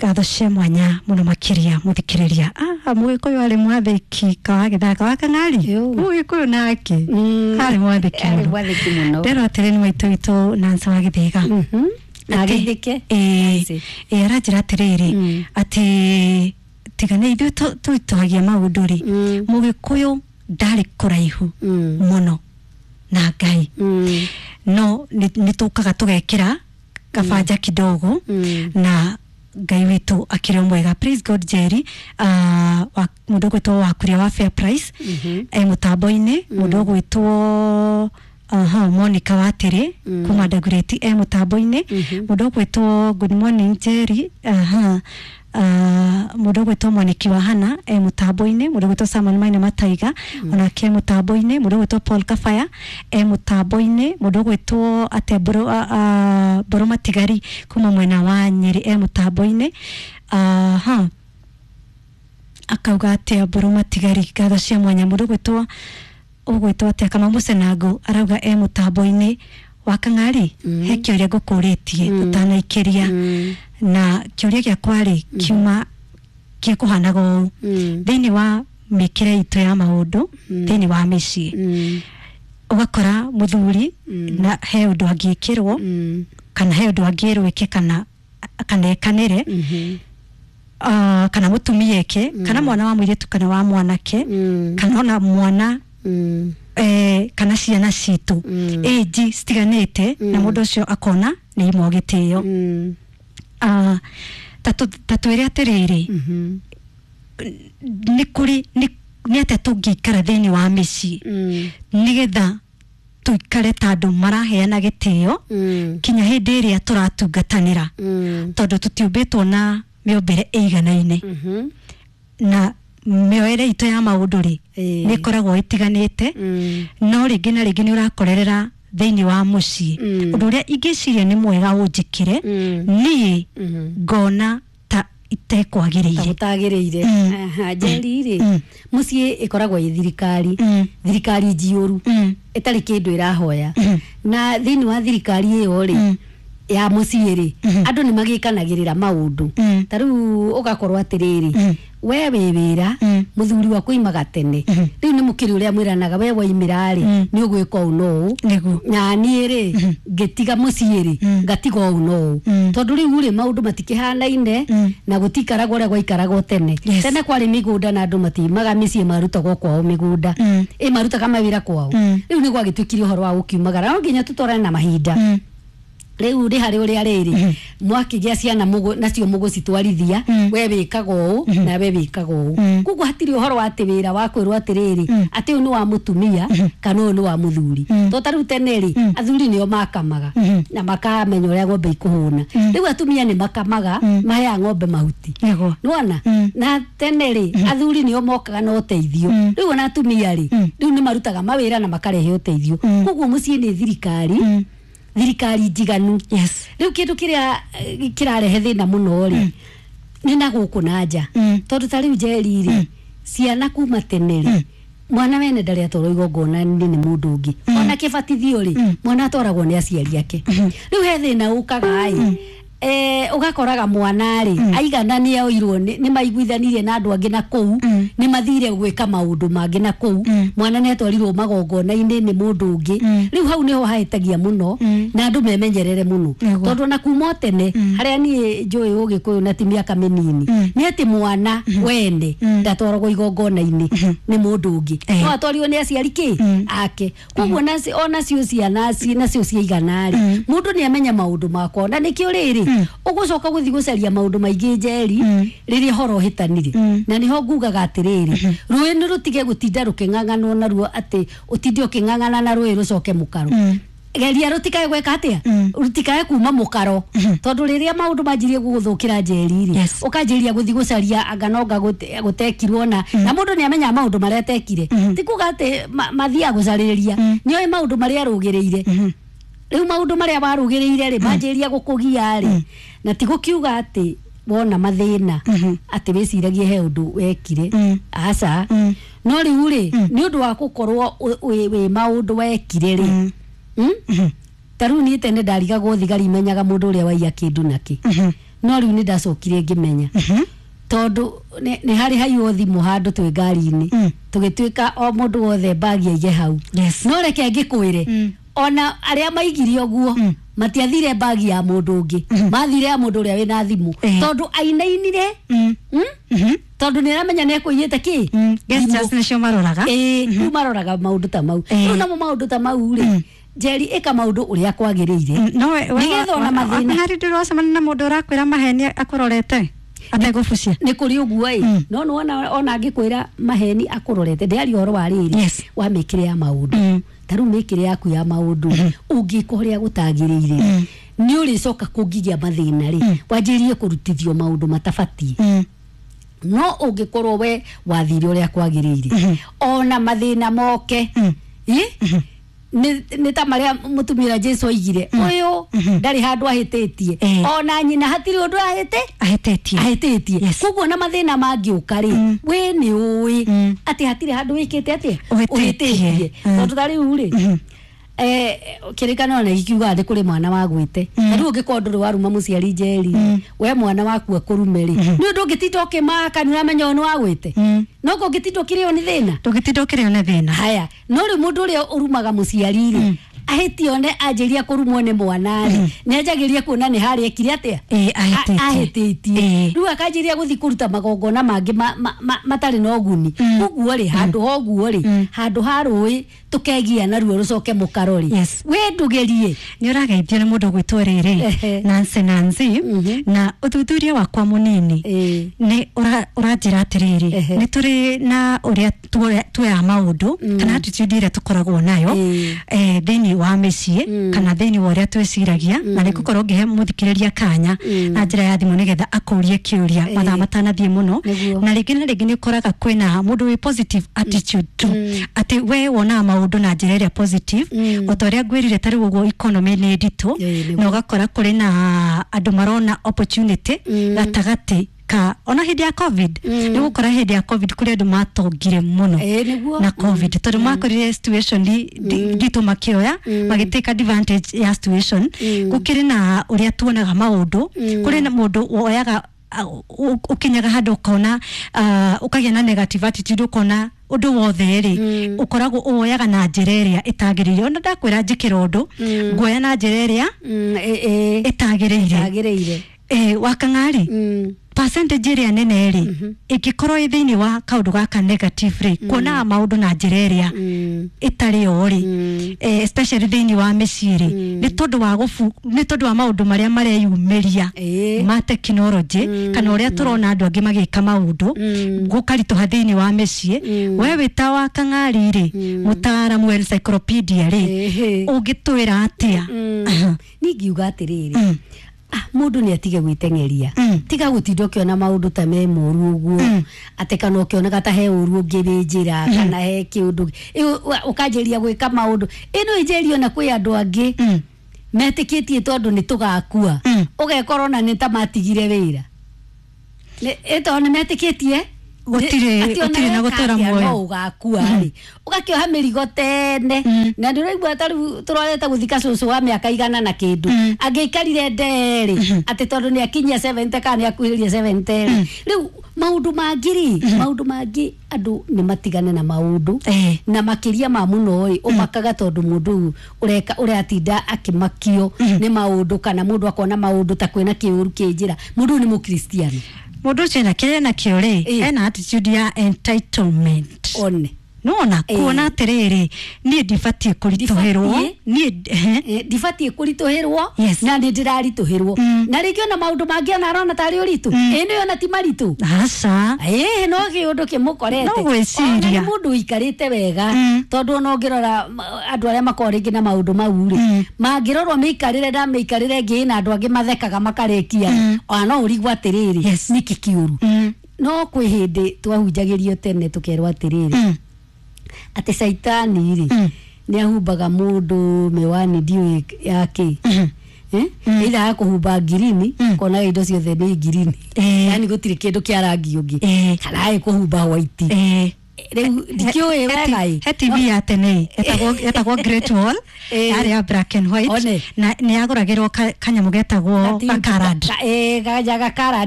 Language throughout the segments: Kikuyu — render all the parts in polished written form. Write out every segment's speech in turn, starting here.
Ngatho cia mwanya muno makiria muthikiriria. Mugikuyu ari mwathiki kawagithaka wa kang'ari. Yo. Mugikuyu nake ari mwathiki Arĩ muno. mwathĩki mũno. Ndero atĩrĩ nĩ maitũ witũ Nancy wa Gĩthĩga. Na agĩthĩke. Ĩĩ, aranjĩra atĩrĩrĩ atĩ tiga nĩ ithuĩ tũitũhagia maũndũ rĩ, mũgĩkũyũ ndarĩ kũraihu mũno na Ngai, no nĩ tũkaga tũgekĩra kabanja kidogo na Ngai witũ akĩrĩ o mwega. Praise God. Jerry, mũndũ ũgwĩtwo Wakuria wa Fair Price e mũtambo-inĩ, mũndũ ũgwĩtwo aha Monica Watĩrĩ kuma Dagoretti e mũtambo-inĩ, mũndũ ũgwĩtwo good morning Jerry, aha mũndũ ũgwĩtwo Mwaniki wa Hana e mũtambo-inĩ, mũndũ ũgwĩtwo Samuel Maina Mataiga onake e mũtambo-inĩ, mũndũ ũgwĩtwo Paul Kabaya e mũtambo-inĩ, mũndũ ũgwĩtwo atĩa Mbũrũ Mbũrũ Matigari kuma mwena wa Nyĩrĩ e mũtambo-inĩ. Aha akauga atĩa Mbũrũ Matigari, ngatho cia mwanya. Mũndũ ũgwĩtwo atĩa Kamau Mũcenango arauga e mũtambo-inĩ wa Kang'ari. He kĩũria ngũkũrĩtie ũtanaikĩria, na kĩũria gĩakwa rĩ kiuma gĩkũhanaga ũũ: thĩinĩ wa mĩkĩre itũ ya maũndũ thĩinĩ wa mĩciĩ, ũgakora mũthuri na he ũndũ angĩkĩrwo kana he ũndũ angĩrwo eke kana ekanĩre, kana mũtumia eke, kana mwana wa mũirĩtu kana wa mwanake, kana ona mwana, kana ciana citũ ĩnji citiganĩte, na mũndũ ũcio akona nĩ imwe gĩtĩo. Ta twĩre atĩrĩrĩ, nĩ kũrĩ nĩ atĩa tũngĩikara thĩinĩ wa mĩciĩ nĩgetha tũikare ta andũ maraheana gĩtĩo kinya hĩndĩ ĩrĩa tũratungatanĩra, tondũ tũtiũmbĩtwo na mĩũmbĩre ĩiganaine na mĩoere itũ ya maũndũ rĩ nĩ ĩkoragwo ĩtiganĩte, no rĩngĩ na rĩngĩ nĩ ũrakorerera thĩinĩ wa mũciĩ ũndũ ũrĩa ingĩciria nĩ mwega ũnjĩkĩre niĩ ngona ta itekwagĩrĩire. Gũtagĩrĩire. Njeri rĩ, mũciĩ ĩkoragwo ĩ thirikari, thirikari njiũru ĩtarĩ kĩndũ ĩrahoya, na thĩinĩ wa thirikari ĩyo rĩ ya mũciĩ rĩ, andũ nĩ magĩkanagĩrĩra maũndũ. Ta rĩu ũgakorwo atĩrĩrĩ, we wĩ wĩra, mũthuri waku oimaga tene, rĩu nĩ mũkĩrĩ ũrĩa mwĩranaga, we waimĩra rĩ nĩ ũgwĩka ũũ na ũũ, na niĩ rĩ ngĩtiga mũciĩ rĩ ngatiga ũũ na ũũ, tondũ rĩu rĩ maũndũ matikĩhanaine na gũtiikaragwo ũrĩa gwaikaragwo tene. Tene kwarĩ mĩgũnda na andũ matiumaga mĩciĩ, marutagwo kwao mĩgũnda, ĩ marutaga mawĩra kwao. Rĩu nĩ gwagĩtuĩkire ũhoro wa gũkiumagara, no nginya tũtwarane na mahinda. Rĩu rĩ harĩ ũrĩa rĩrĩ mwakĩgĩa ciana nacio mũgũcitwarithia, we wĩkaga ũũ na we wĩkaga ũũ. Koguo hatirĩ ũhoro wa atĩ wĩra wa kwĩrwo atĩrĩrĩ atĩ ũyũ nĩ wa mũtumia kana ũyũ nĩ wa mũthuri. To ta rĩu tene rĩ, athuri nĩo makamaga na makamenya ũrĩa ng'ombe ikũhũna. Rĩu atumia nĩ makamaga, maheaga ng'ombe mahuti. Nĩwona? Na tene rĩ, athuri nĩo mokaga na ũteithio. Rĩu ona atumia rĩ, rĩu nĩ marutaga mawĩra na makarehe ũteithio. Koguo mũciĩ nĩ thirikari, thirikari njiganu. Rĩu kĩndũ kĩrĩa kĩrarehe thĩna mũno rĩ nĩ na gũkũ na nja, tondũ ta rĩu Njeri rĩ, ciana kuma tene rĩ, mwana wene ndarĩ atwarwo igongona-inĩ nĩ mũndũ ũngĩ. Ona kĩbatithio rĩ, mwana atwaragwo nĩ aciari ake. Rĩu he thĩna ũkaga ĩ, ũgakoraga mwana rĩ aigana nĩ oirwo, nĩ maiguithanirie na andũ angĩ na kũu, nĩ mathire gwĩka maũndũ mangĩ na kũu, mwana nĩ atwarirwo magongona-inĩ nĩ mũndũ ũngĩ. Rĩu hau nĩho hahĩtagia mũno na andũ memenyerere mũno, tondũ ona kuma o tene harĩa niĩ njũĩ ũgĩkũyũ na ti mĩaka mĩnini, nĩ atĩ mwana wene ndatwaragwo igongona-inĩ nĩ mũndũ ũngĩ, no atwarirwo nĩ aciari kĩ ake. Koguo onacio ciana nacio ciaigana rĩ, mũndũ nĩ amenya maũndũ makwa, na nĩkĩo rĩrĩ ũgũcoka gũthiĩ gũcaria maũndũ maingĩ Njeri rĩrĩa ũhoro ũhĩtanire. Na nĩho ngugaga atĩrĩrĩ, rũĩ nĩ rũtige gũtinda rũkĩng'ang'anwo naruo, atĩ ũtinde ũkĩng'ang'ana na rũĩ rũcoke mũkaro. Geria rũtikae gwĩka atĩa, rũtikae kuma mũkaro, tondũ rĩrĩa maũndũ manjirie gũgũthũkĩra Njeri rĩ, ũkanjĩrĩria gũthiĩ gũcaria anga nonga gũtekirwo, na mũndũ nĩ amenyaga maũndũ marĩa atekire. Ti kuga atĩ mathiaga gũcarĩrĩria, nĩ oĩ maũndũ marĩa arũgĩrĩire. Rĩu maũndũ marĩa warũgĩrĩire rĩ manjĩrĩria gũkũgia rĩ, na ti gũkiuga atĩ wona mathĩna atĩ wĩciragie he ũndũ wekire, aca. No rĩu rĩ, nĩ ũndũ wa gũkorwo wĩ maũndũ wekire rĩ, ta rĩu niĩ tene ndarigagwo thigari imenyaga mũndũ ũrĩa waiya kĩndũ nakĩ. No rĩu nĩ ndacokire ngĩmenya tondũ nĩ harĩ haiywo thimũ handũ twĩ ngari-inĩ, tũgĩtuĩka o mũndũ wothe mbagi aige hau. No reke ngĩkwĩre, ona arĩa maigire ũguo matiathire mbagi ya mũndũ ũngĩ, mathire ya mũndũ ũrĩa wĩna thimũ, tondũ ainainire tondũ nĩ aramenya nĩ ekũiyĩte kĩ. Gestures nĩcio maroraga. Rĩu maroraga maũndũ ta mau. Rĩu namo maũndũ ta mau rĩ, Njeri, ĩka maũndũ ũrĩa kwagĩrĩire nĩgetha ona mathĩna. Harĩ ndũracemania na mũndũ ũrakwĩra maheni akũrorete ategũbucia? Nĩ kũrĩ ũguo ĩ, no nĩwona ona angĩkwĩra maheni akũrorete, ndĩaria ũhoro wa rĩrĩ wa mĩkĩre ya maũndũ. Ta rĩu mĩkĩre yaku ya maũndũ ũngĩka ũrĩa gũtagĩrĩire, nĩ ũrĩcoka kũngĩgĩa mathĩna rĩ, wanjĩrĩrie kũrutithio maũndũ matabatiĩ. No ũngĩkorwo we wathire ũrĩa kwagĩrĩire, ona mathĩna moke nĩ ta marĩa mũtumia Jesu oigire, ũyũ ndarĩ handũ ahĩtĩtie, ona nyina hatirĩ ũndũ ahĩtĩtie. Koguo na mathĩna mangĩũka rĩ, we nĩ ũĩ atĩ hatirĩ handũ wĩkĩte atĩa ũhĩtĩtie. Tondũ ta rĩu rĩ, kĩrĩkanĩro nĩ gĩkiugaga nĩ kũrĩ mwana wagwĩte. Ta rĩu ũngĩkorwo ndũrĩ waruma mũciari, Njeri, we mwana waku akũrume rĩ, nĩ ũndũ ũngĩtinda ũkĩmaka nĩ ũramenya ũyũ nĩ wagwĩte, no ũngĩtinda ũkĩrĩo nĩ thĩna, ndũngĩtinda ũkĩrĩo nĩ thĩna. Haya, no rĩu mũndũ ũrĩa ũrumaga mũciari rĩ, ahĩtie one anjĩria kũrumwo nĩ mwana rĩ, nĩ anjagĩria kuona nĩ harĩa ekire atĩa ahĩtĩtie. Rĩu akanjĩria gũthiĩ kũruta magongona mangĩ matarĩ na ũguni. Ũguo rĩ, handũ ha ũguo rĩ, handũ ha rũĩ tũkegia naruo rũcoke mũkaro rĩ, we ndũgerie. Nĩ ũrageithio nĩ mũndũ ũgwĩtwo rĩrĩ Nancy Nancy, na ũthuthuria wakwa mũnini nĩ ũranjĩra atĩrĩrĩ, nĩ tũrĩ na ũrĩa tuoyaga maũndũ kana attitude ĩrĩa tũkoragwo nayo thĩinĩ wa mĩciĩ kana thĩinĩ wa ũrĩa twĩciragia, na nĩ ngũkorwo ngĩhe mũthikĩrĩria kanya na njĩra ya thimũ nĩgetha akũrie kĩũria mathaa matanathiĩ mũno. Na rĩngĩ na rĩngĩ nĩ ũkoraga kwĩna mũndũ wĩ positive attitude tu, atĩ we wonaga maũndũ na njĩra ĩrĩa positive, o ta ũrĩa ngwĩrire ta rĩu ũguo economy nĩ nditũ, na ũgakora kũrĩ na andũ marona opportunity gatagatĩ ka ona hĩndĩ ya COVID. Nĩ gũkora hĩndĩ ya COVID kũrĩ andũ matongire mũno na COVID, tondũ makorire situation nditũ makĩoya magĩtake advantage ya situation. Gũkĩrĩ na ũrĩa tuonaga maũndũ, kũrĩ na mũndũ woyaga ũkinyaga handũ ũkona ũkagĩa na negative attitude, ũkona ũndũ wothe rĩ ũkoragwo ũwoyaga na njĩra ĩrĩa ĩtagĩrĩire. Ona ndakwĩra njĩkĩra ũndũ, nguoya na njĩra ĩrĩa ĩtagĩrĩire. Wakang'ari percentage ĩrĩa nene rĩ ĩngĩkorwo ĩ thĩinĩ wa kaũndũ gaka negative rĩ, kuonaga maũndũ na njĩra ĩrĩa ĩtarĩ yo rĩ, especially thĩinĩ wa mĩciĩ rĩ, nĩ tondũ wa maũndũ marĩa mareyumĩria ma technology kana ũrĩa tũrona andũ angĩ magĩka maũndũ gũkaritũha thĩinĩ wa mĩciĩ. We wĩ ta wa Kang'ari rĩ, mũtaaramu wa encyclopedia rĩ, ũngĩtwĩra atĩa? Niĩ ngiuga atĩrĩrĩ, mũndũ nĩ atige gwĩteng'eria, tiga gũtinda ũkĩona maũndũ ta me moru ũguo, atĩ kana ũkĩonaga ta he ũru ũngĩ wĩ njĩra kana he kĩũndũ ũkanjĩria gwĩka maũndũ ĩno ĩnjĩrio. Na kwĩ andũ angĩ metĩkĩtie tondũ nĩ tũgakua, ũgekora ona nĩ ta matigire wĩra tondũ nĩ metĩkĩtie gũtirĩ na gũtũra muoyo, no ũgakua rĩ, ũgakĩoha mĩrigo tene. Na nĩ ũraigua ta rĩu tũrorete gũthika cũcũ wa mĩaka 100 na kĩndũ, angĩikarire ndeerĩ atĩ tondũ nĩ akinyia 70 kana nĩ akuhĩrĩria 70 rĩ. Rĩu maũndũ mangĩ rĩ, maũndũ mangĩ andũ nĩ matigane na maũndũ, na makĩria ma mũno ĩ ũmakaga tondũ mũndũ ũyũ ũreka ũratinda akĩmakio nĩ maũndũ, kana mũndũ akona maũndũ ta kwĩna kĩũru kĩ njĩra. Mũndũ ũyũ nĩ mũkristiano, mũndũ ũcio ena kĩrĩa enakĩo rĩ, ena attitude ya entitlement. One nona kuona atĩrĩrĩ, niĩ ndibatiĩ kũritũhĩrwo, niĩ ndibatiĩ kũritũhĩrwo, na nĩ ndĩraritũhĩrwo. Na rĩngĩ ona maũndũ mangĩ ona arona tarĩ ũritũ, ĩ nĩ ona ti maritũ, aca, ĩ no kĩũndũ kĩmũkorete, no gwĩciria nĩ mũndũ ũikarĩte wega. Tondũ ona ũngĩrora andũ arĩa makoragwo rĩngĩ na maũndũ mau rĩ, mangĩrorwo mĩikarĩre na mĩikarĩre ĩngĩ na andũ angĩ mathekaga makarĩkia, ona no ũrigwo atĩrĩrĩ nĩkĩ kĩũru. No kwĩ hĩndĩ twahunjagĩrio tene tũkerwo atĩrĩrĩ, atĩ caitani rĩ nĩ ahumbaga mũndũ mĩwani ndiũĩ yake, either akũhumba ngirini kona indo ciothe nĩ ngirini, yani gũtirĩ kĩndũ kĩa rangi ũngĩ, kana agĩkũhumba white. Rĩu ndikĩũĩ wega ĩ. He TV ya tene etagwo Great Wall, yarĩ ya black and white, na nĩ yagũragĩrwo kanyamũ getagwo gakarad.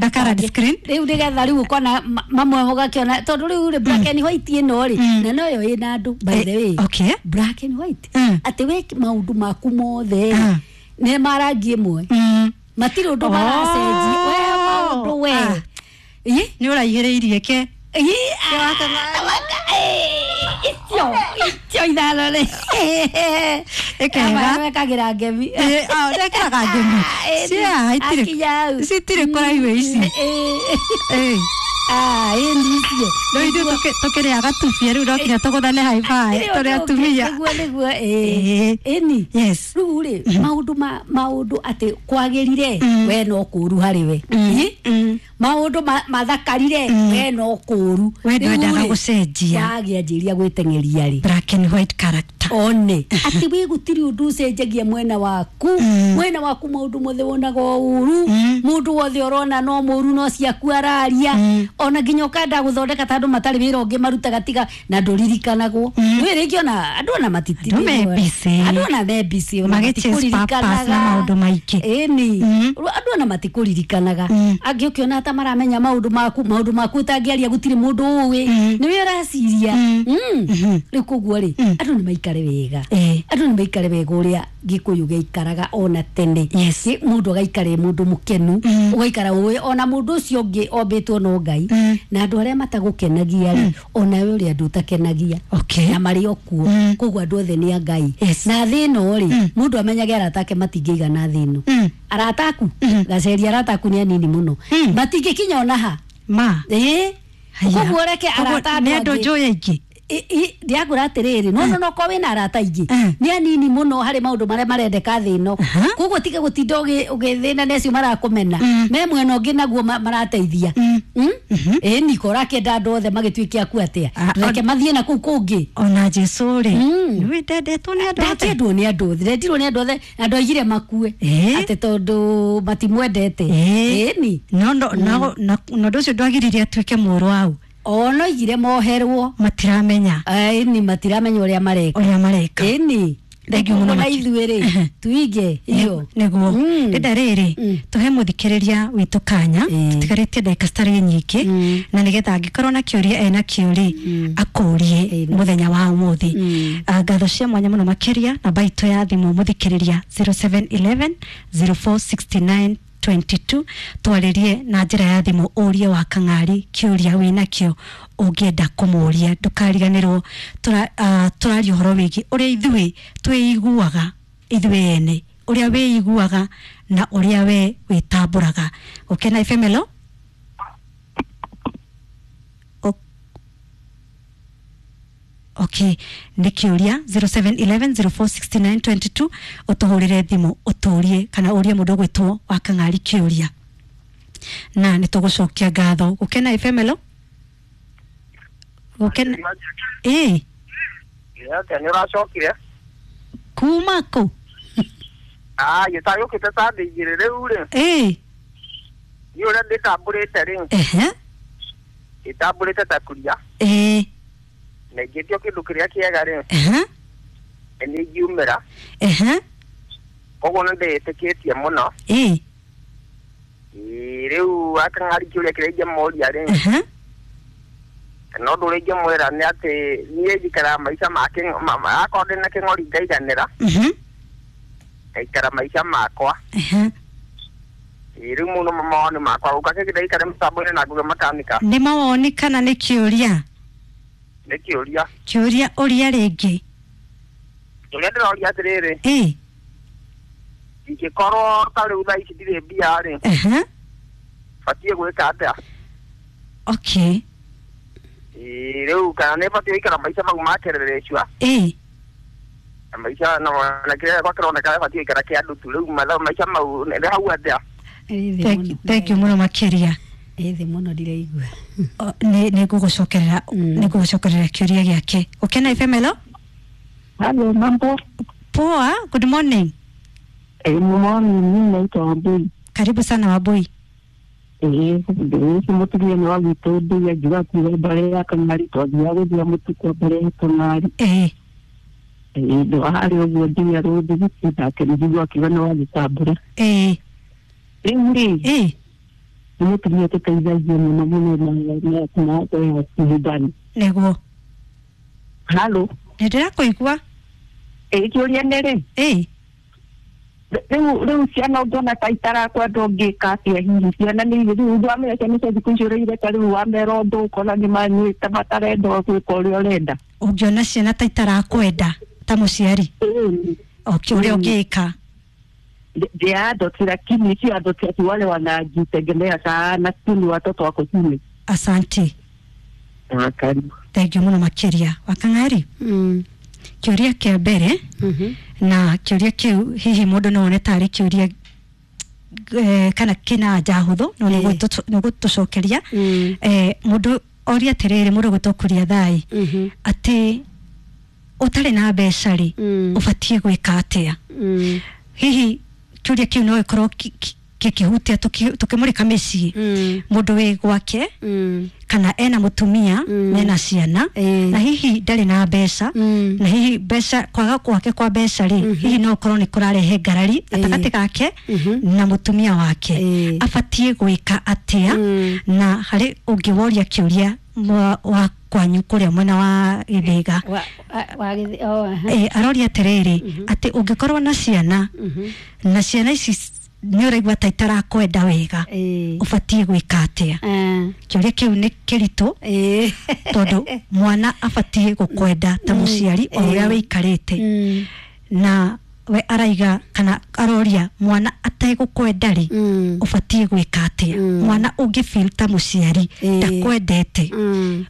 Gakarad screen. Rĩu nĩgetha rĩu ũkona mamwe ũgakĩona, tondũ rĩu rĩ black and white ĩno rĩ, na noyo ĩna andũ, by the way. Okay. Black and white, atĩ we maũndũ maku mothe nĩ marangi ĩmwe, matirĩ ũndũ maracenjia we maũndũ we. Nĩ ũraihĩrĩirie ke icio ithano rĩ ĩkega. Wekagĩra ngemi. Ndekĩraga ngemi cia citirĩ kũraihu ici. Ĩni icio. Rĩu ithuĩ tũkĩrĩaga tubia, rĩu no nginya tũgũthane haibaĩ tũrĩ atumia. Nĩguo nĩguo, ĩni. Yes. Rĩu rĩ maũndũ maũndũ atĩ kwagĩrire, we no kũru harĩ we, maũndũ mathakarire, we no kũru. We ndwendaga gũcenjia. Wagĩanjĩria gwĩteng'eria rĩ black and white character. One atĩ wĩ gũtirĩ ũndũ ũcenjagia mwena waku, mwena waku maũndũ mothe wonaga o ũru, mũndũ wothe ũrona no mũru, no ciaku araria, ona nginya ũkenda gũthondeka ta andũ matarĩ wĩra ũngĩ marutaga tiga na ndũririkanagwo. Nĩ rĩngĩ ona andũ ona matiti Andũ me busy. Andũ ona me busy, ona Magĩ chase purpose na maũndũ maingĩ. Ĩni andũ ona matikũririkanaga, angĩ ũkĩona ta maramenya maũndũ maku, maũndũ maku ũtangĩaria gũtirĩ mũndũ ũĩ, nĩwe ũraciria. Rĩu koguo rĩ, andũ nĩ maikare wega, andũ nĩ maikare wega ũrĩa Gĩkũyũ gĩaikaraga ona tene. Yes. Mũndũ agaikara e mũndũ mũkenu, ũgaikara ũĩ ona mũndũ ũcio ũngĩ ombĩtwo no Ngai, na andũ arĩa matagũkenagia rĩ, onawe ũrĩa andũ ũtakenagia Okay. na marĩ o kuo. Koguo andũ othe nĩ a Ngai. Yes. Na thĩ ĩno rĩ, mũndũ amenyage arata ake matingĩigana thĩ ĩno. Arata aku gaceria, arata aku nĩ anini mũno, matingĩkinya ona ha. Ma. Ĩĩ, koguo reke arata nĩ andũ angĩ. njũĩ aingĩ. Ndiakwĩra atĩrĩrĩ, no no ko wĩna arata aingĩ, nĩ anini mũno harĩ maũndũ marĩa marendeka thĩ ĩno. Koguo tiga gũtinda ũgĩthĩna nĩ acio marakũmena, me mwena ũngĩ naguo marateithia. Ĩni ko ũrakĩenda andũ othe magĩtuĩke aku atĩa? Reke mathiĩ na kũu kũngĩ. Ona Jesu rĩ, nĩwe ndendetwo nĩ andũ othe. Ndakĩendwo nĩ andũ othe, ndendirwo nĩ andũ othe, na andũ aigire makue atĩ tondũ matimwendete. Ĩni. No no no na ũndũ ũcio ndwagĩrĩire atuĩke mũũru wau. Ona oigire moherwo. Matiramenya. Ĩni, matiramenya ũrĩa mareka. Ũrĩa mareka. Ĩni. Thank you mũno na makĩria. Ithuĩ rĩ, tuige iyo. Nĩguo ndĩnda rĩrĩ tũhe mũthikĩrĩria witũ kanya, tũtigarĩtie ndagĩka citarĩ nyingĩ, na nĩgetha angĩkorwo na kĩũria ena kĩo rĩ, akũrie mũthenya wa ũmũthĩ. Ngatho cia mwanya mũno makĩria. Namba itũ ya thimũ, mũthikĩrĩria, 0711 0469 22, twarĩrie na njĩra ya thimũ, ũrie wa Kang'ari kĩũria wĩnakĩo ũngĩenda kũmũria. Ndũkariganĩrwo tũraria ũhoro wĩgiĩ ũrĩa ithuĩ twĩiguaga ithuĩ ene, ũrĩa wĩiguaga na ũrĩa we wĩtambũraga. Gũkena FM, hello. Okay, nĩ kĩũria 0711 0469 22, ũtũhũrĩre thimũ ũtũrie kana ũrie mũndũ ũgwĩtwo wa Kang'ari kĩũria, na nĩ tũgũcokia ngatho. Gũkena FM, hello. Gũkena ĩ. Atĩa, nĩ ũracokire? Kuma kũ? Gĩtagĩũkĩte ta thĩ igĩrĩ rĩu rĩ. Ĩ. Niĩ ũrĩa ndĩtambũrĩte rĩ, ndĩtambũrĩte ta kuria, na ingĩtio kĩndũ kĩrĩa kĩega rĩ, nĩ ingiumĩra. Koguo nĩ ndĩĩtĩkĩtie mũno. Ĩĩ, rĩu akang'ari kĩũria kĩrĩa ingĩmũria rĩ, kana ũndũ ũrĩa ingĩmwĩra nĩ atĩ niĩ njikaraga maica ma akorwo ndĩna kĩng'ori ngaiganĩra, ngaikara maica makwa. Ĩĩ, rĩu mũno mawoni makwa gũka kĩngĩ ndaikare mũtambo-inĩ na nguge makanika. Nĩ mawoni kana nĩ kĩũria? Nĩ kĩũria. Kĩũria ũria rĩngĩ. Kĩũria ndĩroria atĩrĩrĩ, ingĩkorwo ta rĩu thaa ici ndirĩ mbia rĩ, batiĩ gwĩka atĩa? Okay. Ĩĩ, rĩu kana nĩ batiĩ gũikara maica mau ma kererecua, na maica na kĩrĩa gĩakwa kĩroneka batiĩ gũikara kĩa ndutu, rĩu maica mau nĩ hau atĩa? Thank you mũno makĩria. Ĩ thĩ mũno, ndiraigua. Nĩ ngũgũcokerera, nĩ ngũgũcokerera kĩũria gĩake. Gũkena FM, hello. Halo, mambo. Poa, good morning. Morning, mimi naitwa Wambui. Karibu sana, Wambui. Ũcio mũtumia nĩ wa gwitũ nduya ngiuga kuga mbare ya kang'ari twathiaga gũthia mũtu kwa mbare ya kang'ari. Ndwa harĩ ũguo nduya rũthigiti nake njigua akiuga nĩ wagĩtambũra. Rĩu rĩ nĩ mũtumia tũteithagia mũno mũno na nyumbani. Nĩguo. Halo. Nĩ ndĩrakũigua. Kĩũria nĩ rĩ rĩu ciana ũngĩona ta itarakwenda ũngĩka atĩa hihi ciana nĩ rĩu wamenya ciana cia thikũ ici ũrĩire ta rĩu wamera ũndũ ũkona nĩ manyuĩte matarenda gwĩka ũrĩa ũrenda. Ũngĩona ciana ta itarakwenda ta mũciari ũrĩa ũngĩka. They are adults lakini si adults ati wale wanajitegemea sana, si ni watoto wako chini. Asante. Karibu. Thank you mũno makĩria. Wakang'ari. Kĩũria kĩa mbere na kĩũria kĩu hihi mũndũ no one tarĩ kĩũria kana kĩna anja hũthũ no nĩ gũtũcokeria. Mũndũ oria atĩrĩrĩ, mũndũ gwĩtwo Kuria Thai atĩ ũtarĩ na mbeca rĩ ũbatiĩ gwĩka atĩa? Hihi kĩũria kĩu no gĩkorwo gĩkĩhutia tũkĩmũrĩka mĩciĩ mũndũ wĩ gwake kana ena mũtumia mena ciana na hihi ndarĩ na mbeca na hihi mbeca kwaga gwake kwa mbeca rĩ hihi no ũkorwo nĩ kũrarehe ngarari gatagatĩ gake na mũtumia wake abatiĩ gwĩka atĩa? Na harĩ ũngĩ woria kĩũria wa kwanyu kũrĩa mwena wa Gĩthĩga aroria atĩrĩrĩ atĩ ũngĩkorwo na ciana na ciana ici nĩ ũraigua ta itarakwenda wega ũbatiĩ gwĩka atĩa? Kĩũria kĩu nĩ kĩritũ tondũ mwana abatiĩ gũkwenda ta mũciari o ũrĩa wĩikarĩte na we araiga kana aroria mwana ategũkwenda rĩ ũbatiĩ gwĩka atĩa? Mwana ũngĩ feel ta mũciari ndakwendete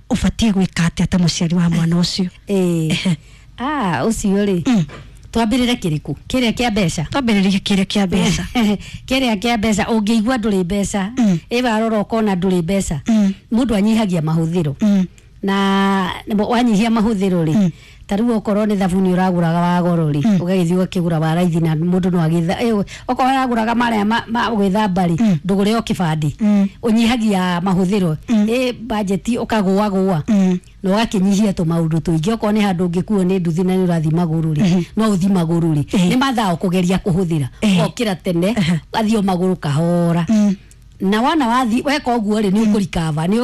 ũbatiĩ gwĩka atĩa ta mũciari wa mwana ũcio? Ũcio rĩ twambĩrĩre kĩrĩkũ? Kĩrĩa kĩa mbeca? Twambĩrĩrie kĩrĩa kĩa mbeca. Kĩrĩa kĩa mbeca ũngĩigua ndũrĩ mbeca ĩwarora ũkona ndũrĩ mbeca mũndũ anyihagia mahũthĩro na wanyihia mahũthĩro rĩ ta rĩu okorwo nĩ thabuni ũragũraga wa goro rĩ ũgagĩthiĩ ũgakĩgũra wa raithi na mũndũ no agĩtha okorwo ũragũraga marĩa ma gwĩthamba rĩ ndũgũre o kĩbandĩ ũnyihagia mahũthĩro bajeti ũkagũagũa na ũgakĩnyihia tũmaũndũ tũingĩ. Okorwo nĩ handũ ũngĩkuo nĩ nduthi na nĩ ũrathiĩ magũrũ rĩ no ũthiĩ magũrũ rĩ nĩ mathaa ũkũgeria kũhũthĩra ũgokĩra tene ũgathiĩ o magũrũ kahora na wana wathi weka ũguo rĩ nĩ ũkũrikava nĩ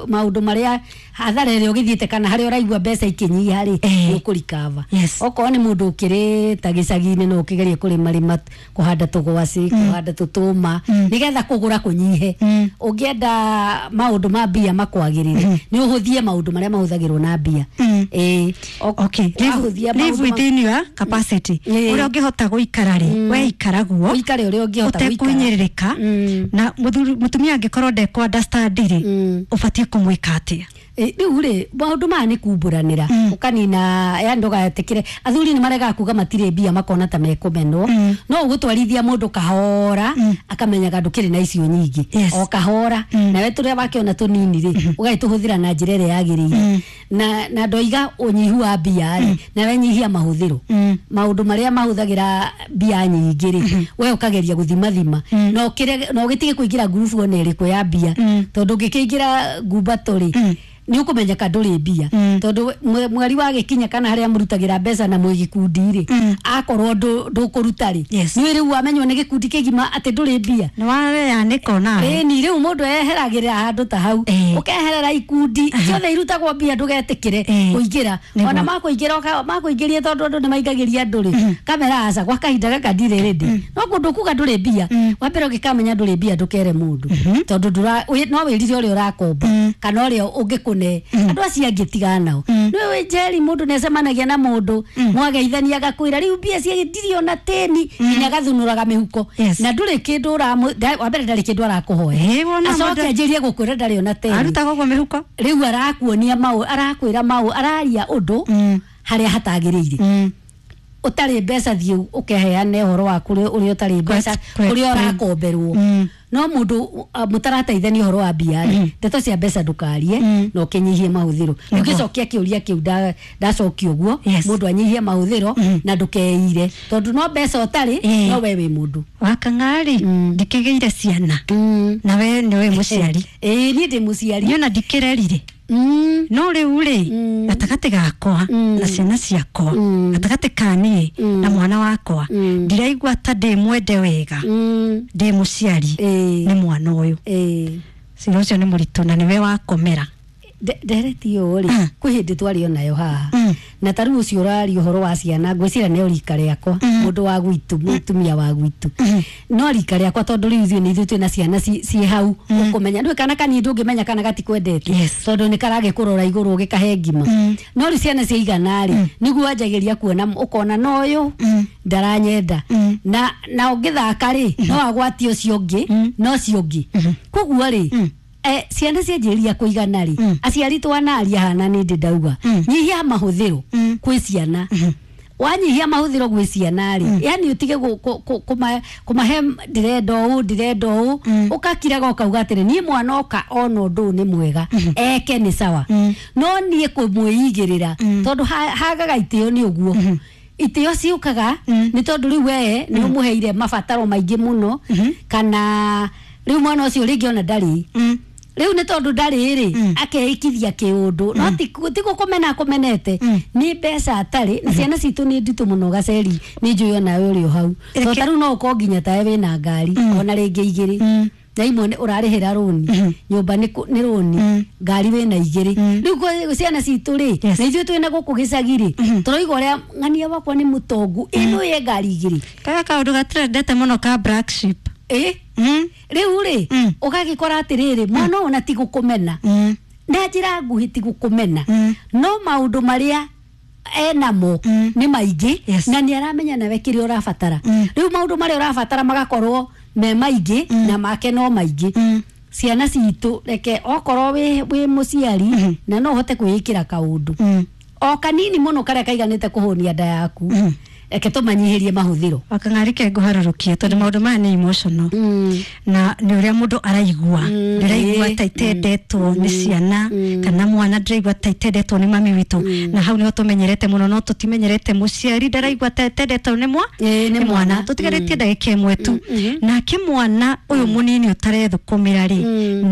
maũndũ marĩa hathara ĩrĩa ũgĩthiĩte kana harĩa ũraigua mbeca ikĩnyiha rĩ nĩ ũkũrikava. Okorwo nĩ mũndũ ũkĩrĩ ta gĩcagi-inĩ no ũkĩgerie kũrĩmarĩma kũhanda tũgwacĩ kũhanda tũtũma nĩgetha kũgũra kũnyihe. Ũngĩenda maũndũ ma mbia makwagĩrĩre nĩ ũhũthie maũndũ marĩa mahũthagĩrwo na mbia. Live within your capacity ũrĩa ũngĩhota gũikara rĩ we ikara guo ũikare ũrĩa ũngĩhota gũikara ũtekũhinyĩrĩrĩka. Na mũtumia angĩkorwo ndekũ understand rĩ ũbatiĩ kũmwĩka atĩa? Rĩu rĩ maũndũ maya nĩ kumbũranĩra ũkanina yani ndũgetĩkĩre athuri nĩ maregaga kuga matirĩ mbia makona ta mekũmenwo no ũgũtwarithia mũndũ kahora akamenyaga ndũkĩrĩ na icio nyingĩ o kahora nawe tũrĩa wakĩona tũnini rĩ ũgagĩtũhũthĩra na njĩra ĩrĩa yagĩrĩire na ndoiga ũnyihu wa mbia rĩ nawe nyihia mahũthĩro maũndũ marĩa mahũthagĩra mbia nyingĩ rĩ we ũkageria gũthimathima na ũgĩtige kũingĩra ngurubu ona ĩrĩkũ ya mbia tondũ ũngĩkĩingĩra ngumbato rĩ nĩ ũkũmenyeka ndũrĩ mbia tondũ mweri wa gĩkinya kana harĩa mũrutagĩra mbeca na mwĩ gĩkundi rĩ akorwo ndũkũruta rĩ nĩ rĩu wamenywo nĩ gĩkundi kĩgima atĩ ndũrĩ mbia nĩ wareanĩka onawe. Ĩni rĩu mũndũ eheragĩrĩra handũ ta hau ũkeherera ikundi ciothe irutagwo mbia ndũgetĩkĩre kũingĩra ona makũingĩra makũingĩria tondũ andũ nĩ maingagĩria andũ rĩ kamera aca gwa kahinda gaka ndirĩ rĩndĩ no kũndũ kuga ndũrĩ mbia wambere ũngĩkamenya ndũrĩ mbia ndũkere mũndũ tondũ no wĩrire ũrĩa ũrakomba kana ũrĩa ũngĩkũne andũ acio angĩ tigana nao nĩ wĩ Njeri mũndũ nĩ acemanagia na mũndũ mwageithania agakwĩra rĩu mbia cia ndirĩ ona tĩni nginya agathunũraga mĩhuko na ndũrĩ kĩndũ wambere ndarĩ kĩndũ arakũhoya acoke anjĩrie gũkwĩra ndarĩ ona tĩni arutaga ũguo mĩhuko rĩu arakuonia maũ arakwĩra maũ araria ũndũ harĩa hatagĩrĩire. Ũtarĩ mbeca thiĩ ũkeheane ũhoro wa kũrĩa ũrĩa ũtarĩ mbeca, kũrĩa ũrakomberwo. No mũndũ mũtarateithania ũhoro wa mbia rĩ, ndeto cia mbeca ndũkarie, na ũkĩnyihie mahũthĩro. Ũngĩcokia kĩũria kĩu ndacokia ũguo, mũndũ anyihie mahũthĩro na ndũkeire, tondũ no mbeca ũtarĩ, no we wĩ mũndũ. Wakang'ari, ndikĩgĩire ciana na we nĩwe mũciari. Ĩĩ, niĩ ndĩ mũciari. Niĩ ona ndikĩrerire. No rĩu rĩ, gatagatĩ gakwa na ciana ciakwa, gatagatĩ ka niĩ na mwana wakwa, ndiraigua ta ndĩ mwende wega, ndĩ mũciari nĩ mwana ũyũ. Cira ũcio nĩ mũritũ na nĩwe wakomera. Ndereti ũyũ rĩ, kwĩ hĩndĩ twarĩ onayo haha, na ta rĩu ũcio ũraria ũhoro wa ciana, ngwĩciria nĩ rika rĩakwa, mũndũ wa gwitũ, mũtumia wa gwitũ, no rika rĩakwa, tondũ rĩu ithuĩ nĩ ithuĩ twĩna ciana ciĩ hau, ũkũmenya ndũĩ kana kanini ndũngĩmenya kana gatikwendete, tondũ nĩ karagĩkũrora igũrũ ũgĩkahe ngima. No rĩu ciana ciaigana rĩ, nĩguo wanjagĩria kuona, ũkona no ũyũ ndaranyenda, na ũngĩthaka rĩ, no agwatie ũcio ũngĩ, no ũcio ũngĩ. Koguo rĩ, ciana cianjĩrĩria kũigana rĩ, aciari twanaria hana nĩ ndĩ ndauga, nyihia mahũthĩro kwĩ ciana. Wanyihia mahũthĩro gwĩ ciana rĩ, yani ũtige kũmahe ndĩrenda ũũ, ndĩrenda ũũ, ũkakiraga ũkauga atĩrĩ, niĩ mwana oka ona ũndũ ũyũ nĩ mwega, eke nĩ sawa, no niĩ kũmwĩigĩrĩra, tondũ hagaga itĩo nĩ ũguo. Itĩo ciũkaga nĩ tondũ rĩu we nĩ ũmũheire mabataro maingĩ mũno, kana rĩu mwana ũcio rĩngĩ ona ndarĩ. Rĩu nĩ tondũ ndarĩ rĩ, akeikithia kĩũndũ, no ti gũkũmena akũmenete, nĩ mbeca atarĩ. Na ciana citũ nĩ nditũ mũno gaceri, nĩ njũĩ onawe ũrĩ o hau, tondũ ta rĩu no ũkorwo nginya tawe wĩna ngari ona rĩngĩ igĩrĩ, na imwe ũrarĩhĩra rũni, nyũmba nĩ rũni, ngari wĩna igĩrĩ. Rĩu ciana citũ rĩ, na ithuĩ twĩna gũkũ gĩcagi rĩ, tũroiga ũrĩa ng'ania wakwa nĩ mũtongu, ĩno ye ngari igĩrĩ. Kaya kaũndũ gatirendete mũno ka black sheep. Rĩu rĩ, ũgagĩkora atĩrĩrĩ, mwana ũyũ ona ti gũkũmena, na njĩra nguhĩ ti gũkũmena, no maũndũ marĩa enamo nĩ maingĩ, na nĩ aramenya nawe kĩrĩa ũrabatara. Rĩu maũndũ marĩa ũrabatara magakorwo me maingĩ, na make no maingĩ. Ciana citũ, reke okorwo wĩ mũciari na no ũhote kwĩĩkĩra kaũndũ o kanini mũno karĩa kaiganĩte kũhũnia nda yaku, reke tũmanyihĩrie mahũthĩro. Wakang'ari ke ngũharũrũkie, tondũ maũndũ maya nĩ emotional, na nĩ ũrĩa mũndũ araigua. Ndĩraigua ta itendetwo nĩ ciana, kana mwana ndĩraigua ta itendetwo nĩ mami witũ, na hau nĩho tũmenyerete mũno, no tũtimenyerete mũciari ndaraigua ta itendetwo nĩ mwana. Tũtigarĩtie ndagĩka ĩmwe tu. Nake mwana ũyũ mũnini ũtarethũkũmĩra rĩ,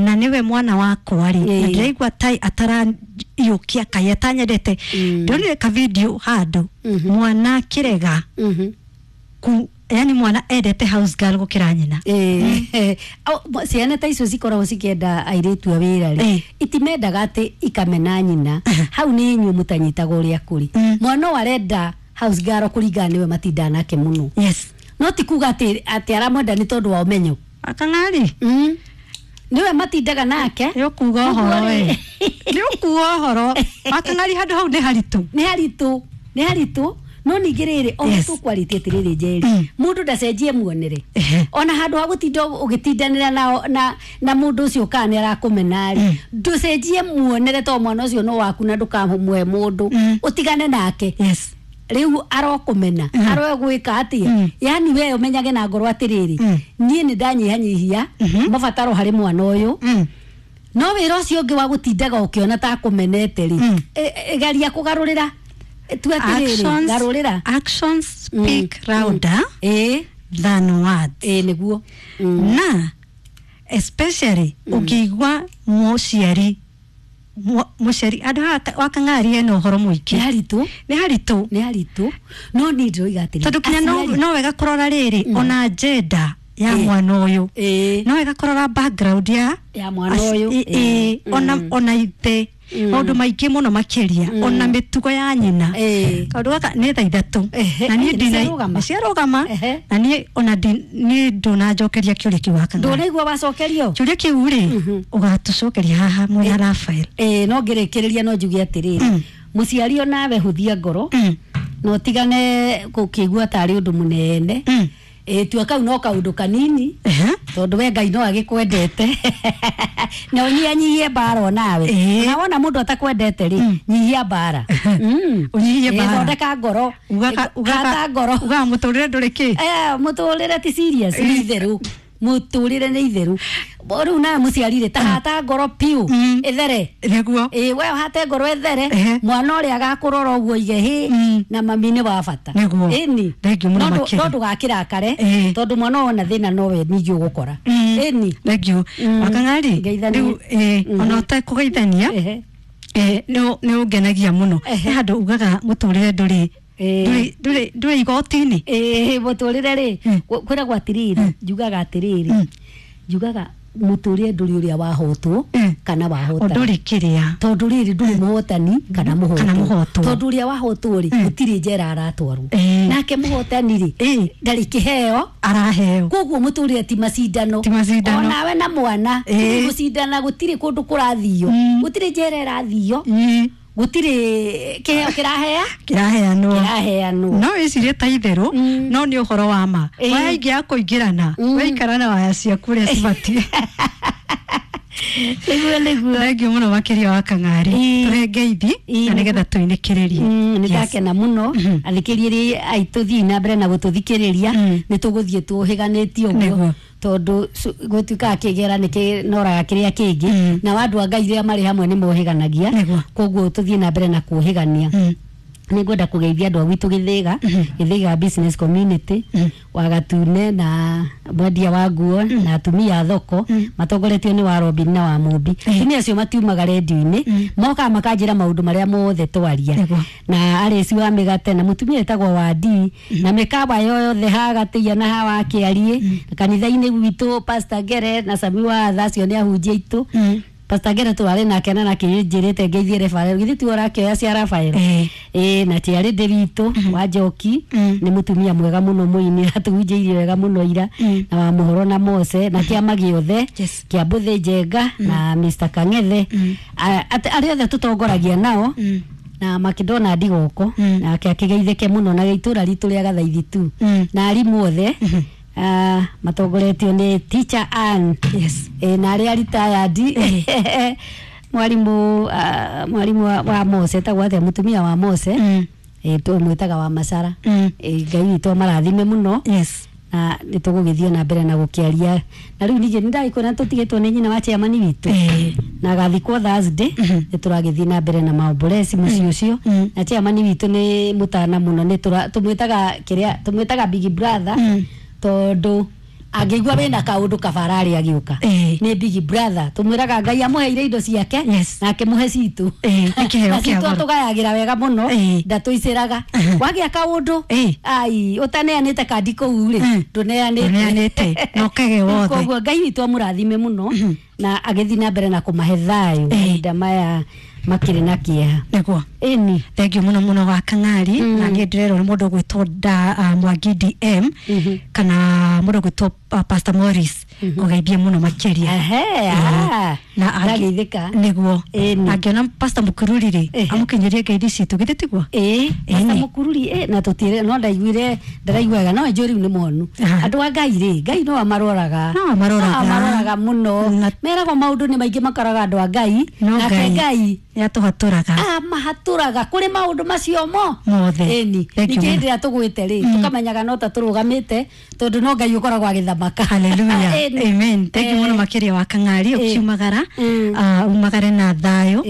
na nĩwe mwana wakwa rĩ, na ndĩraigua ta ataraiũkia kai atanyendete. Ndĩronire ka video handũ mwana akĩrega yani mwana endete house girl gũkĩra nyina. Ciana ta icio cikoragwo cikĩenda airĩtu a wĩra rĩ, itimendaga atĩ ikamena nyina. Hau nĩ inyuĩ mũtanyitaga ũrĩa kũrĩ. Mwana ũyũ arenda house girl kũringana nĩwe matindaga nake mũno. No ti kuga atĩ aramwenda nĩ tondũ wa ũmenyo. Akang'ari. Nĩwe matindaga nake. Nĩ ũkuga ũhoro we. Nĩ ũkuga ũhoro. Wakang'ari handũ hau nĩ haritũ. Nĩ haritũ. Nĩ haritũ. No ningĩ rĩrĩ, o tũkwarĩtie atĩrĩrĩ Njeri, mũndũ ndacenjie muonere. Ona handũ ha gũtinda ũgĩtindanĩra na mũndũ ũcio kana nĩ arakũmena rĩ, ndũcenjie muonere tondũ mwana ũcio no waku na ndũkamũhe mũndũ, ũtigane nake. Rĩu arokũmena, aroe gwĩka atĩa, yani we ũmenyage na ngoro atĩrĩrĩ, niĩ nĩ ndanyihanyihia mabataro harĩ mwana ũyũ, no wĩra ũcio ũngĩ wa gũtindaga ũkĩona ta akũmenete rĩ, geria kũgarũrĩra. Actions speak louder than words. Nĩguo. Na especially ũkĩigua mũciari andũ wakang'ari ena ũhoro mũingĩ. Nĩ haritũ. Nĩ haritũ. Nĩ haritũ. No niĩ ndĩroiga atĩrĩrĩ, tondũ kinya no wega kũrora rĩrĩ, ona gender ya mwana ũyũ, no wega kũrora background ya mwana ũyũ, ona ithe, maũndũ maingĩ mũno makĩria, ona mĩtugo ya nyina. Kaũndũ gaka nĩ thaa ithatũ, na niĩ nĩciarũgama, na niĩ ona niĩ ndũnanjokeria kĩũria kĩu wakang'ari. Ndũnaigua wacokerio kĩũria kĩu rĩ, ũgatũcokeria haha mwena Rafael. No ngĩrĩkĩrĩria no njuge atĩrĩrĩ, mũciari onawe hũthia ngoro, na ũtigane gũkĩigua tarĩ ũndũ mũnene. Tua kau no kaũndũ kanini. Tondu we Ngai no agikwendete na ũnyihanyihie mbara onawe. Na wona mũndũ atakwendete rĩ, nyihia mbara. Ũnyihie mbara. Thondeka ngoro. Hata ngoro. Ugaga mũtũrĩre ndũrĩ kĩ? Mũtũrĩre ti serious, nĩ itherũ. Mũtũrĩre nĩ itherũ. Rĩu nawe mũciari rĩ, ta hata ngoro piũ ĩthere. Nĩguo. Ĩ we hate ngoro ĩthere, mwana ũrĩa agakũrora ũguo oige hĩ na mami nĩ wa bata. Nĩguo. Ĩni. Thengiũ mũno makĩria. No ndũgakĩrakare tondũ mwana wona thĩna nowe ningĩ ũgũkora. Ĩni. Thengiũ. Wakang'ari rĩu ona ũtekũgeithania nĩ ũngenagia mũno. He handũ ugaga mũtũrĩre ndũrĩ ndũrĩ igoti-inĩ. Mũtũrĩre rĩ, kwĩragwo atĩrĩrĩ, njugaga atĩrĩrĩ, njugaga mũtũrĩre ndũrĩ ũrĩa wahotwo kana wahotana. Ndũrĩ kĩrĩa. Tondũ rĩrĩ ndũrĩ mũhotani kana mũhotwo. Tondũ ũrĩa wahotwo rĩ, gũtirĩ njera aratwarwo. Nake mũhotani rĩ, ndarĩ kĩheo araheo. Koguo mũtũrĩre ti macindano. Ti macindano. Onawe na mwana ti gũcindana, gũtirĩ kũndũ kũrathio, gũtirĩ njera ĩrathio, gũtirĩ kĩheo kĩrahea kĩraheanwo. Kĩraheanwo. No wĩcirie ta itherũ, no nĩ ũhoro wa ma. Waya ingĩ ya kũingĩrana, waikara na waya ciaku ũrĩa cibatiĩ. Nĩguo nĩguo. Thengiũ mũno makĩria wa Kang'ari. Tũhe ngeithi na nĩgetha tũinĩkĩrĩrie. Nĩ ndakena mũno athikĩrĩria aitũ, thiĩ na mbere na gũtũthikĩrĩria, nĩ tũgũthiĩ tũhĩganĩtie ũguo tondũ gũtuĩkaga kĩgera nĩ kĩnoraga kĩrĩa kĩngĩ, na andũ a Ngai rĩrĩa marĩ hamwe nĩ mohĩganagia, koguo tũthiĩ na mbere na kũhĩgania. Nĩ ngwenda kũgeithia andũ a gwitũ Gĩthĩga, Gĩthĩga business community, Wagatune na mwendia wa nguo na atumia a thoko matongoretio nĩ wa Robin na wa Mũmbi. Atumia acio matiumaga rendio-inĩ, mokaga makanjĩra maũndũ marĩa mothe twaria, na arĩci wa mĩgate na mũtumia wĩtagwo Wandi na mĩkawa yothe ha Gatĩia na ha Wakĩariĩ, kanitha-inĩ gwitũ Pastor Ngere na Sami wa Atha, acio nĩ ahunjia aitũ. Pastor Ngere twarĩ nake na nakĩnjĩrĩte ngeithie Rafael, githĩ tiwe ũrakĩoya cia Rafael? Na tiarĩ ndĩ witũ wa Njoki, nĩ mũtumia mwega mũno mũini, atũhunjĩirie wega mũno ira, na wa Mũhoro na Mose na kĩama gĩothe kĩa Mbũthĩ Njenga na Mr Kang'ethe, arĩa othe tũtongoragia nao, na makĩndona ndigoko nake akĩgeithĩke mũno, na itũra ritũ rĩa Gathaithi tu, na arimũ othe matongoretio nĩ Teacher Ann. Na arĩa retired mwarimu mwarimu wa Mose etagwo atĩa, mũtumia wa Mose twamwĩtaga wa Macara. Ngai witũ amarathime mũno. Na nĩ tũgũgĩthiĩ na mbere na gũkĩaria, na rĩu ningĩ nĩ ndagĩkwĩra tũtigĩtwo nĩ nyina wa chairman witũ na agathikwo Thursday, nĩ tũragĩthiĩ na mbere na maombolezi mũciĩ ũcio, na chairman witũ nĩ mũtana mũno, nĩ tũmwĩtaga kĩrĩa tũmwĩtaga big brother, tondũ angĩigua wĩna kaũndũ kabara arĩa agĩũka nĩ big brother, tũmwĩraga Ngai amũheire indo ciake na akĩmũhe citũ, na citũ atũgayagĩra wega mũno, ndatũicĩraga. Wagĩa kaũndũ ai ũtaneanĩte kandi kũu rĩ, ndũneanĩte na ũkage wothe. Koguo Ngai witũ amũrathime mũno na agĩthiĩ na mbere na kũmahe thayũ mahinda maya makĩrĩ na kĩeha. Nĩguo. Ĩni. Thengiũ mũno mũno wa Kang'ari. Na niĩ ndĩrerwo nĩ mũndũ ũgwĩtwo Mwangi DM kana mũndũ ũgwĩtwo Pastor Morris, kũgeithie mũno makĩria. Na ndageithĩka. Nĩguo. Angĩona Pastor Mũkururi rĩ, amũkinyĩrie ngeithi citũ, githĩ tiguo? Ĩĩ, Pastor Mũkururi na tũtirĩ, no ndaiguire ndaraiguaga, no njũĩ rĩu nĩ mũhonu. Andũ a Ngai rĩ, Ngai no amaroraga. No amaroraga. No amaroraga mũno. Meragwo maũndũ nĩ maingĩ makoraga andũ a Ngai, nake Ngai nĩ atũhatũraga. Amahatũraga kũrĩ maũndũ macio mo mothe. Ĩni. Ningĩ hĩndĩ ĩrĩa tũgwĩte rĩ, tũkamenyaga no ta tũrũgamĩte tondũ no Ngai ũkoragwo agĩthamaka. Hallelujah. Amen. Thank you mũno makĩria wa Kang'ari, ũkiumagara umagare na thayũ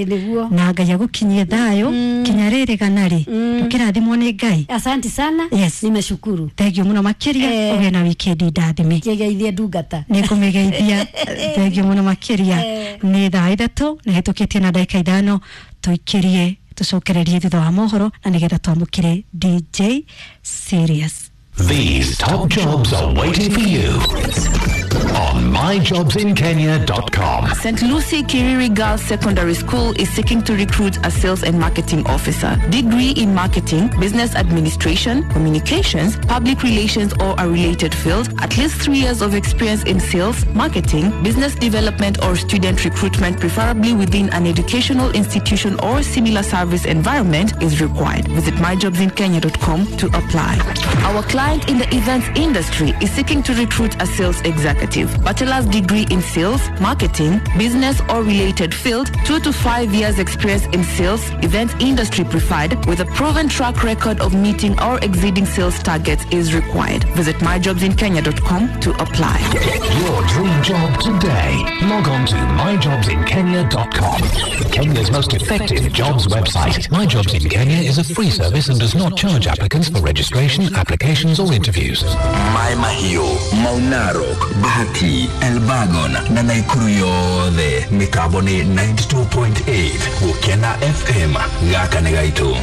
na Ngai agũkinyie thayũ kinya rĩrĩ gana rĩ, ndũkĩrathimwo nĩ Ngai. Asante sana. Nimeshukuru. Thank you mũno makĩria, ũgĩe na weekend ndathime. Kĩgeithie ndungata. Nĩ ngũmĩgeithia. Thank you mũno makĩria. Nĩ thaa 3 na hĩtũkĩtie na ndagĩka 5, tũikĩrie tũcokererie thutha wa mohoro na nĩgetha twamũkĩre DJ Serious. These top jobs are waiting for you on myjobsinkenya.com. St. Lucie Kiriri Girls Secondary School is seeking to recruit a sales and marketing officer. Degree in marketing, business administration, communications, public relations or a related field. At least 3 years of experience in sales, marketing, business development or student recruitment, preferably within an educational institution or similar service environment is required. Visit myjobsinkenya.com to apply. Our client in the events industry is seeking to recruit a sales executive. Executive. Bachelor's degree in sales, marketing, business or related field, 2 to 5 years experience in sales, events industry preferred, with a proven track record of meeting or exceeding sales targets is required. Visit myjobsinkenya.com to apply. Get your dream job today. Log on to myjobsinkenya.com. Kenya's most effective jobs website. My Jobs in Kenya is a free service and does not charge applicants for registration, applications or interviews. Mai Mahiu, Mau Narok, Bahati, Elbagon na Naikuru yothe mitambo ni 92.8 Gukena FM gaka nĩ gaitũ.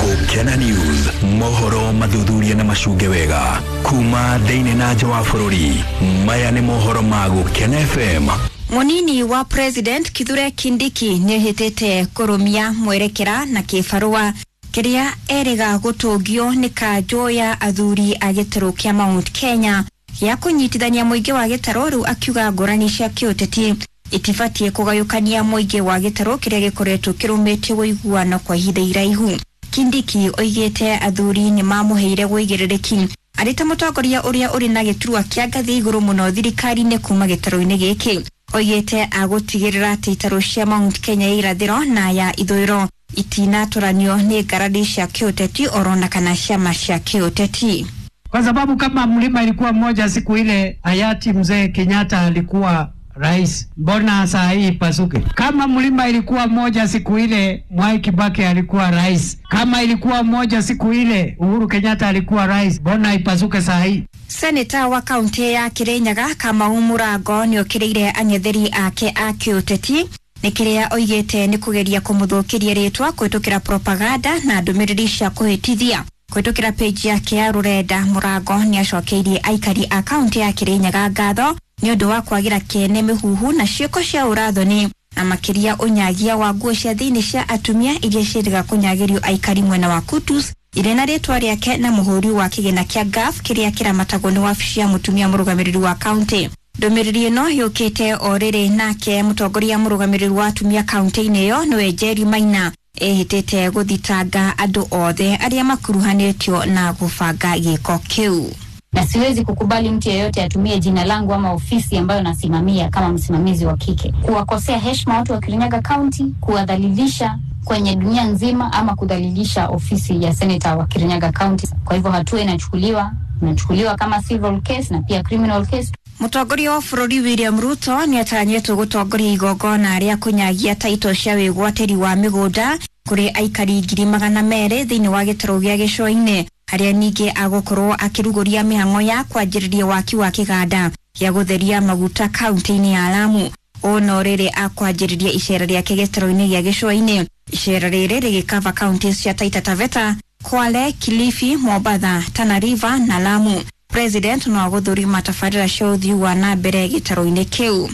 Gukena News, mohoro mathuthuria na macunge wega kuma thĩinĩ na nja wa bũrũri. Maya nĩ mohoro ma Gukena FM. Munini wa President Kithure Kindiki nĩehĩtĩte kũrũmia mwerekera na kĩbarũa kĩrĩa erĩga gũtũngio nĩ kanjũ ya athuri a gĩtarũ kĩa Mount Kenya gĩa kũnyitithania mũingĩ wa gĩtarũ, rĩu akiuga ngũrani cia kĩũteti itibatiĩ kũgayũkania mũingĩ wa gĩtarũ kĩrĩa gĩkoretwo kĩrũmĩtie ũiguano kwa ihinda iraihu. Kindiki oigĩte athuri nĩ mamũheire wũigĩrĩrĩki arĩ ta mũtongoria ũrĩa ũrĩ na gĩturwa kĩa ngathĩ igũrũ mũno thirikari-inĩ kuma gĩtarũ-inĩ gĩkĩ. Oigĩte agũtigĩrĩra atĩ itarũ cia Mount Kenya ya irathĩro na ya ithũĩro itinatũranio nĩ ngarari cia kĩũteti orona kana ciama cia kĩũteti. Kwa sababu kama mlima ilikuwa mmoja siku ile hayati mzee Kenyatta alikuwa rais, mbona saa hii ipasuke? Kama mlima ilikuwa moja siku ile Mwai Kibaki alikuwa rais, kama ilikuwa moja siku ile Uhuru Kenyatta alikuwa rais, mbona ipasuke saa hii? Seneta wa kaunti ya Kirinyaga Kamau Mũrango nĩokĩrĩire ang'etheri ake a kĩũteti nĩ kĩrĩa oigĩte nĩ kũgeria kũmũthũkĩria rĩtwa kũhĩtũkĩra propaganda na ndũmĩrĩri cia kũhĩtithia. Kũhĩtũkĩra page yake ya rũrenda, Mũrango nĩacokeirie aikari a kaunti ya Kirinyaga ngatho nĩ ũndũ wa kwagĩra kĩene mĩhuhu na ciĩko cia ũrathoni na makĩria ũnyagia wa nguo cia thĩinĩ cia atumia iria ciendaga kũnyagĩrio aikari mwena wa Kutus irĩ na rĩtwa rĩake na mũhũri wa kĩgĩna kĩa GAF kĩrĩa kĩramatagwo nĩ wabici ya mũtumia mũrũgamĩrĩri wa kaunti. Ndũmĩrĩri ĩno yũkĩte o rĩrĩ nake mũtongoria mũrũgamĩrĩri wa atumia kaunti-inĩ ĩyo nĩwe Jerry Maina ehĩtĩte gũthitanga andũ othe arĩa makuruhanĩtio na gũbanga gĩko kĩu. Na siwezi kukubali mtu yeyote atumie jina langu ama ofisi ambayo nasimamia kama msimamizi wa kike kuwakosea heshima watu wa Kirinyaga County, kuwadhalilisha kwenye dunia nzima ama kudhalilisha ofisi ya seneta wa Kirinyaga County. Kwa hivyo hatua inachukuliwa kama civil case na pia criminal case. Mũtongoria wa bũrũri William Ruto nĩatanyĩtwo gũtongoria igongona rĩa kũnyagia taito cia wĩgwatĩri wa mĩgũnda kũrĩ aikari 200,000 thĩinĩ wa gĩtarũ gĩa gĩcũa-inĩ, harĩa ningĩ agũkorwo akĩrugũria mĩhang'o ya kwanjĩrĩria waki wa kĩganda gĩa gũtheria maguta kaunti-inĩ ya Lamu. Ũũ no rĩrĩ akwanjĩrĩria icera rĩake gĩtarũ-inĩ gĩa gĩcũa-inĩ. Icera rĩrĩ rĩgĩkava kaunti cia Taita Taveta, Kwale, Kilifi, Mombatha, Tana River na Lamu. President no agũthũrima tabarĩra cia ũthii wa na mbere gĩtarũ-inĩ kĩu.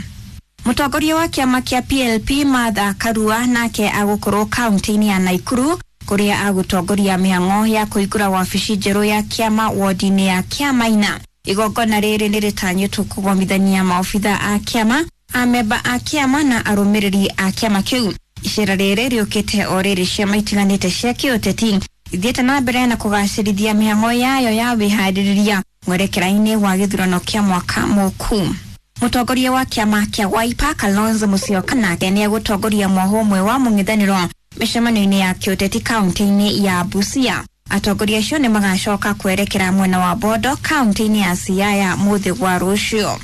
Mũtongoria wa kĩama kĩa PLP Martha Karua nake agũkorwo kaunti-inĩ ya Naikuru kũrĩa agũtongoria mĩhang'o ya kũhingũra wabici njerũ ya kĩama wodi-inĩ ya Kĩamaina. Igongona rĩrĩ nĩrĩtanyĩtwo kũgomithania maobitha a kĩama, amemba a kĩama na arũmĩrĩri a kĩama kĩu. Icera rĩrĩ rĩũkĩte o rĩrĩ ciama itiganĩte cia kĩũteti ithiĩte na mbere na kũgacĩrithia mĩhang'o yayo ya wĩharĩrĩria mwerekera-inĩ wa gĩthurano kĩa mwaka mũku. Mũtongoria wa kĩama kĩa Wiper Kalonzo Musyoka nake nĩegũtongoria mwoho ũmwe wa mũng'ethanĩro mĩcemanio-inĩ ya kĩũteti kaunti-inĩ ya Busia. Atongoria acio nĩ magacoka kwerekera mwena wa Bondo kaunti-inĩ ya Siaya mũthĩ wa rũciũ.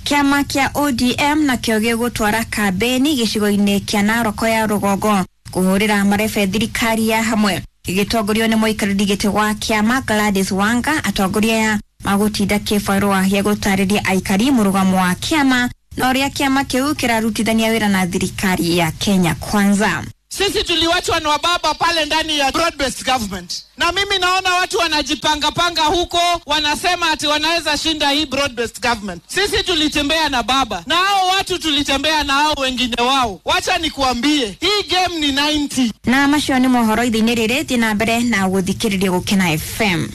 Kĩama kĩa ODM nakĩo gĩgũtwara kambeni gĩcigo-inĩ kĩa Narok ya rũgongo kũhũrĩra marebe thirikari ya hamwe gĩgĩtongorio nĩ mũikarĩri gĩtĩ wa kĩama Gladys Wanga. Atongoria aya magũtinda kĩbarũa gĩa gũtarĩria aikari mũrũgamo wa kĩama na ũrĩa kĩama kĩu kĩrarutithania wĩra na thirikari ya Kenya Kwanza. Sisi tuliwachwa na wababa pale ndani ya broad-based government, na mimi naona watu wanajipanga panga huko, wanasema ati wanaweza shinda hii broad-based government. Sisi tulitembea na baba na hao watu tulitembea na hao wengine wao. Wacha nikuambie, hii game ni 90. Na macio nĩ mohoro ithe-inĩ rĩrĩ, thiĩ na mbere na gũthikĩrĩria Gũkena FM.